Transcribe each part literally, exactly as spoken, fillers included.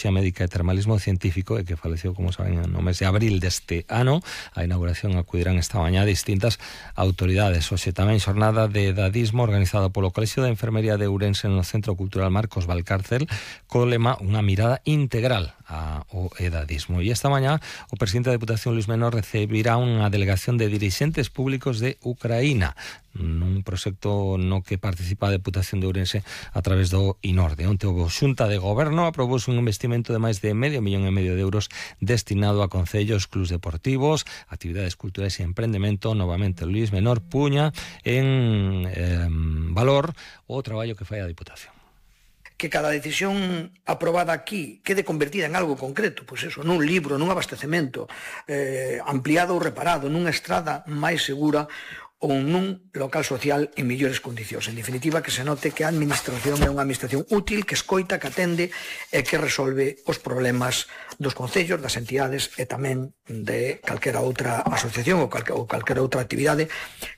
Médica e Termalismo Científico, e que faleceu, como saben, no mes de abril deste ano. A inauguración acudirán esta mañá distintas autoridades. Hoxe tamén xornada de edadismo organizada polo Colexio de Enfermería de Ourense no Centro Cultural Marcos Valcárcel, co lema unha mirada integral ao edadismo. E esta mañá o presidente da Deputación, Luis Menor, recibirá unha delegación de dirixentes públicos de Ucraína nun proxecto no que participa a Deputación de Ourense a través do INORDE. Onte o Xunta de Goberno aprobouse un investimento de máis de medio millón e medio de euros destinado a concellos, clubs deportivos, actividades culturais e emprendemento. Novamente Luis Menor puña en eh, valor o traballo que fai a Deputación. Que cada decisión aprobada aquí quede convertida en algo concreto, pois eso, nun libro, nun abastecemento eh, ampliado ou reparado, nunha estrada máis segura ou nun local social en mellores condicións. En definitiva, que se note que a administración é unha administración útil, que escoita, que atende e que resolve os problemas dos concellos, das entidades e tamén de calquera outra asociación ou, calque, ou calquera outra actividade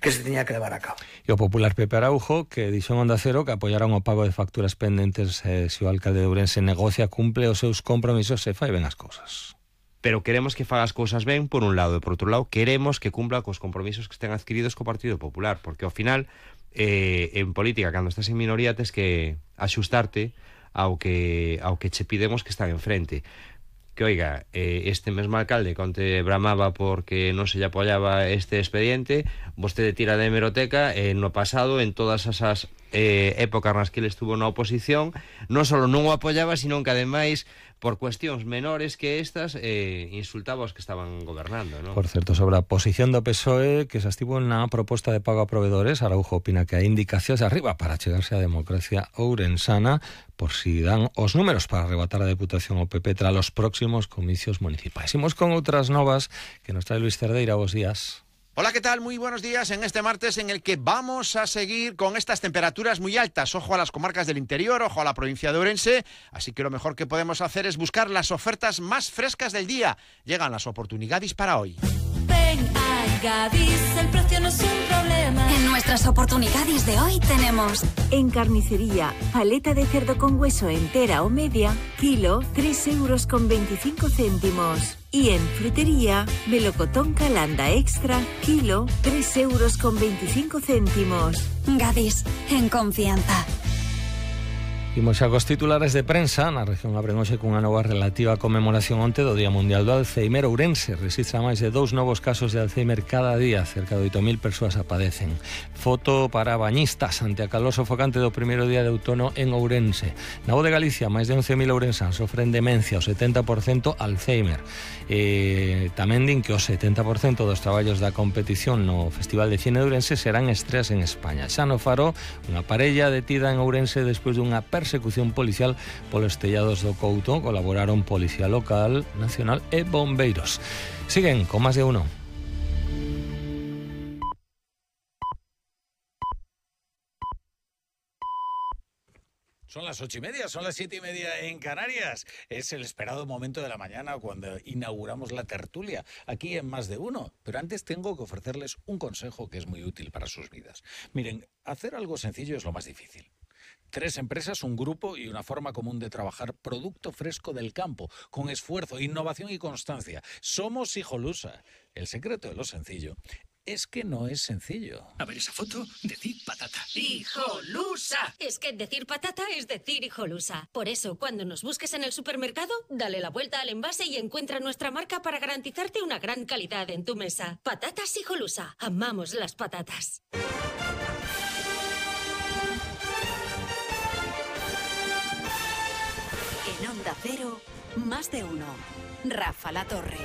que se teña que levar a cabo. E o popular Pepe Araujo, que dixo en Onda Cero que apoiarán o pago de facturas pendentes eh, se o alcalde de Ourense negocia, cumple os seus compromisos e fai ben as cousas. Pero queremos que faga as cousas ben por un lado, e por outro lado queremos que cumpla cos compromisos que estén adquiridos co Partido Popular, porque ao final eh, en política, cando estás en minoría, tes que axustarte ao que ao que che pidemos que están enfrente. Que oiga, eh, este mesmo alcalde conte bramaba porque non se lle apoiaba este expediente, vostede tira de hemeroteca, eh, no pasado, en todas esas eh, épocas nas que ele estuvo na oposición, non só non o apoiaba, sino que ademais por cuestións menores que estas, eh, insultaba aos que estaban gobernando, ¿no? Por certo, sobre a posición do P S O E que se estivo na proposta de pago a provedores, Araujo opina que hai indicacións arriba para chegarse á democracia ourensana por si dan os números para arrebatar a Deputación ao P P tras os próximos comicios municipais. Imos con outras novas que nos trae Luis Cerdeira. Bos días. Hola, ¿qué tal? Muy buenos días en este martes en el que vamos a seguir con estas temperaturas muy altas. Ojo a las comarcas del interior, ojo a la provincia de Ourense. Así que lo mejor que podemos hacer es buscar las ofertas más frescas del día. Llegan las oportunidades para hoy. Ven a Gadis, el precio no es un problema. En nuestras oportunidades de hoy tenemos... En carnicería, paleta de cerdo con hueso entera o media, kilo, tres euros con veinticinco céntimos. Y en frutería, melocotón calanda extra, kilo, tres euros con veinticinco céntimos. Gadis, en confianza. Imos xa cos titulares de prensa. Na región abren hoxe cunha nova relativa conmemoración onte do Día Mundial do Alzheimer. Ourense registra máis de dous novos casos de Alzheimer cada día. Cerca de oito mil persoas a padecen. Foto para bañistas ante a calor sofocante do primeiro día de outono en Ourense. Na Voz de Galicia, máis de once mil ourensáns sofren demencia, o setenta por cento Alzheimer. E tamén din que o setenta por cento dos traballos da competición no Festival de Cine de Ourense serán estreas en España. Xa no Faro, unha parella detida en Ourense despois dunha persecución policial polos tellados do Couto. Colaboraron Policía Local, Nacional e Bombeiros. Siguen con Más de Uno. Son las ocho y media, son las siete y media en Canarias. Es el esperado momento de la mañana cuando inauguramos la tertulia aquí en Más de Uno. Pero antes tengo que ofrecerles un consejo que es muy útil para sus vidas. Miren, hacer algo sencillo es lo más difícil. Tres empresas, un grupo y una forma común de trabajar producto fresco del campo, con esfuerzo, innovación y constancia. Somos Hijolusa. El secreto de lo sencillo es que no es sencillo. A ver esa foto, decir patata. ¡Hijolusa! Es que decir patata es decir Hijolusa. Por eso, cuando nos busques en el supermercado, dale la vuelta al envase y encuentra nuestra marca para garantizarte una gran calidad en tu mesa. Patatas Hijolusa. Amamos las patatas. En Onda Cero, Más de Uno. Rafa La Torre.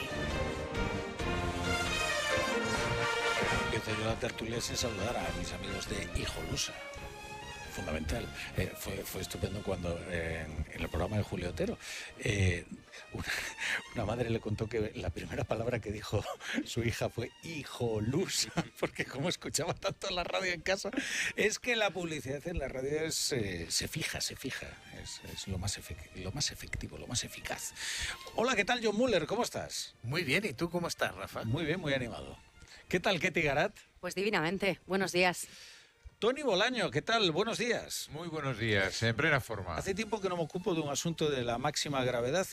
Empiezo yo la tertulia sin saludar a mis amigos de Hijolusa. Fundamental. Eh, fue, fue estupendo cuando eh, en, en el programa de Julio Otero eh, una, una madre le contó que la primera palabra que dijo su hija fue hijolusa, porque como escuchaba tanto la radio en casa, es que la publicidad en la radio es, eh, se fija, se fija, es, es lo, más efect, lo más efectivo, lo más eficaz. Hola, ¿qué tal, John Muller? ¿Cómo estás? Muy bien, ¿y tú cómo estás, Rafa? Muy bien, muy animado. ¿Qué tal, Ketty Garat? Pues divinamente, buenos días. Toni Bolaño, ¿qué tal? Buenos días. Muy buenos días, en plena forma. Hace tiempo que no me ocupo de un asunto de la máxima gravedad